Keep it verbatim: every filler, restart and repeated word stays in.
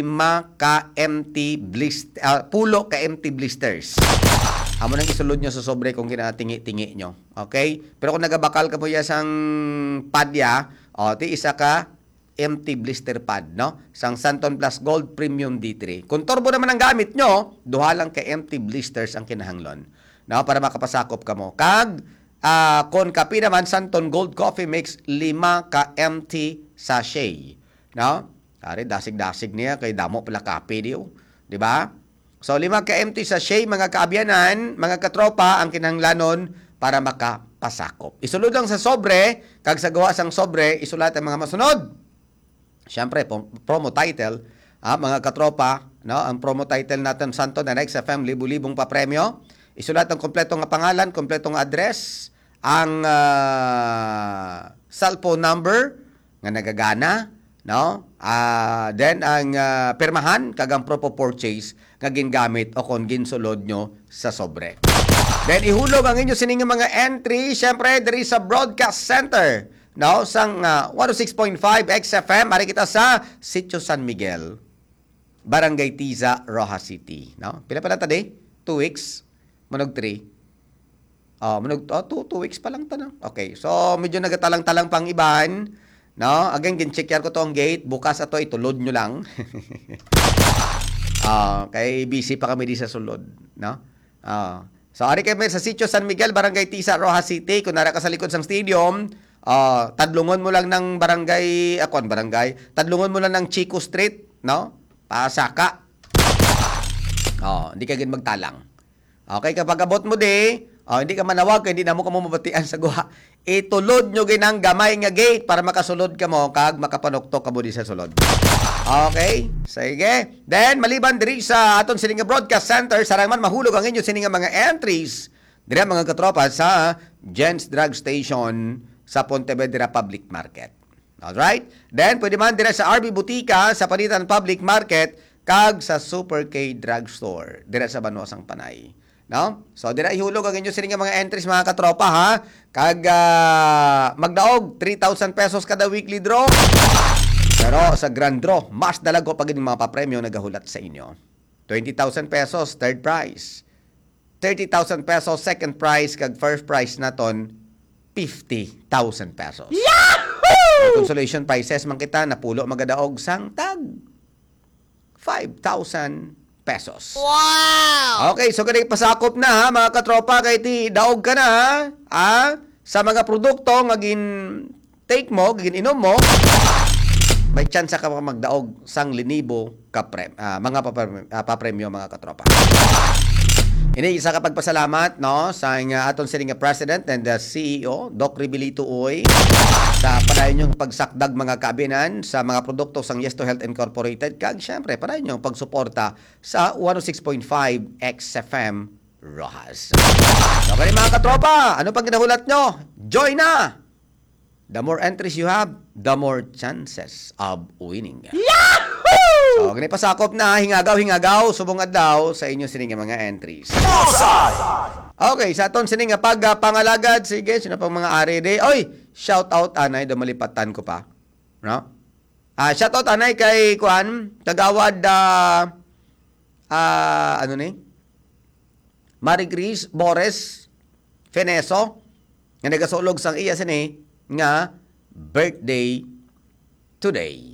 lima ka empty blist-, ah, pulo ka empty blisters. Amo nang isulod nyo sa sobre kung ginatingi-tingi nyo. Okay? Pero kung nagabakal ka po ya sang padya, o, ti isa ka empty blister pad, no? Sang Santon Plus Gold Premium D three. Kung turbo naman ang gamit nyo, duha lang ka empty blisters ang kinahanglon, no? Para makapasakop kamo. Kag, ah, kung kape naman, Santon Gold Coffee Mix, lima ka empty sachet, no? Ari, dasig-dasig niya, kay damo pala kape, di, oh. Di ba? So, lima ka empty sachet, mga kaabyanan, mga katropa, ang kinahanglanon para makapasakop. Isulod lang sa sobre, kag sa gawa sang sobre, isulat ang mga masunod. Siyempre, pom-, promo title, ah, mga katropa, no? Ang promo title natin, Santo, the next F M, libu-libong papremyo. Isulat ang kompleto nga pangalan, kompleto nga address, ang, ah, cellphone number nga nagagana, no? Ah, then ang, ah, pirmahan kag ang proof of purchase nga gingamit o kon ginsulod nyo sa sobre. Then ihulog ang inyo sining mga entry, syempre, diri sa Broadcast Center, no? Sang, ah, one oh six point five X F M, ari kita sa Sitio San Miguel, Barangay Tiza, Roxas City, no? Pila pa lang ta, day? Two weeks? Manog three? Oh, manog, oh, two, two weeks pa lang ta, no? Okay, so medyo nagatalang-talang pang iban, no? Again, gin-check ko to ang gate. Bukas ato, itulod nyo lang. Ah, kay busy pa kami di sa sulod, no? Ah. So, ari kami sa Sitio San Miguel, Barangay Tisa, Roxas City. Kung nara ka sa likod sang stadium, ah, tadlungon mo lang ng barangay, ah, kuwan, barangay, tadlungon mo lang ng Chico Street, no? Pasaka. Oh, hindi ka gid magtalang. Okay, kapag abot mo di, oh, hindi ka manawag, kay hindi na mo kamo mabatian sa guha. Itulod nyo gid ang gamay nga gate para makasulod kamo kag makapanuktok kamo di sa sulod. Okay? Sige. Then, maliban diri sa aton sini nga broadcast center, sarang man mahulog ang inyo sini nga mga entries diri, mga katropa, sa Jen's Drug Station sa Pontevedra Public Market. Alright? Then, pwede man dira sa R B Butika, sa Panitan Public Market, kag sa Super K Drugstore, dira sa Banwa sang Panay. No? So, dira ihulog ang inyo sini nga mga entries, mga katropa, ha? Kag, ah, magdaog three thousand pesos kada weekly draw. Pero sa grand draw, mas dalago pa gid ang mga papremyo nagahulat sa inyo. Twenty thousand pesos, third prize. Thirty thousand pesos, second prize, kag first prize naton, fifty thousand pesos. Yahoo! Ang consolation prizes man kita, napulo magadaog sang tag five thousand pesos. Wow! Okay, so kani pasakop na, ha, mga katropa, kay ti daog ka na, ha? Ah, sa mga produkto nga gin take mo, gin-inom mo, may tsansa ka pa magdaog sang linibo ka pre-, ah, mga papre-, ah, papremyo, mga katropa. Ini isa ka pagpasalamat, no, sa nga aton sini nga President and the C E O, Doc Ribilito Uy, sa padayon niyong pagsakdag, mga kaabinan, sa mga produkto sang Yes to Health Incorporated, kag syempre, padayon niyong pagsuporta sa one oh six point five X F M Roxas. So, kani, mga katropa, ano pang ginahulat nyo? Join na! The more entries you have, the more chances of winning. Yahoo! So, gani pasakop na, hingagaw, hingagaw, subong adlaw sa inyo sini nga mga entries. Bullseye! Okay, sa aton sini nga pag, ah, pangalagad, sige, sino pang mga ari di? Oy, shout out, anay, daw malipatan ko pa. No? Ah, shout out, anay, kay, kuan, Kagawad, ah, ah, ano ni? Marie Grace Bores Feneso, nga nagasulog sang iya sini nga birthday today.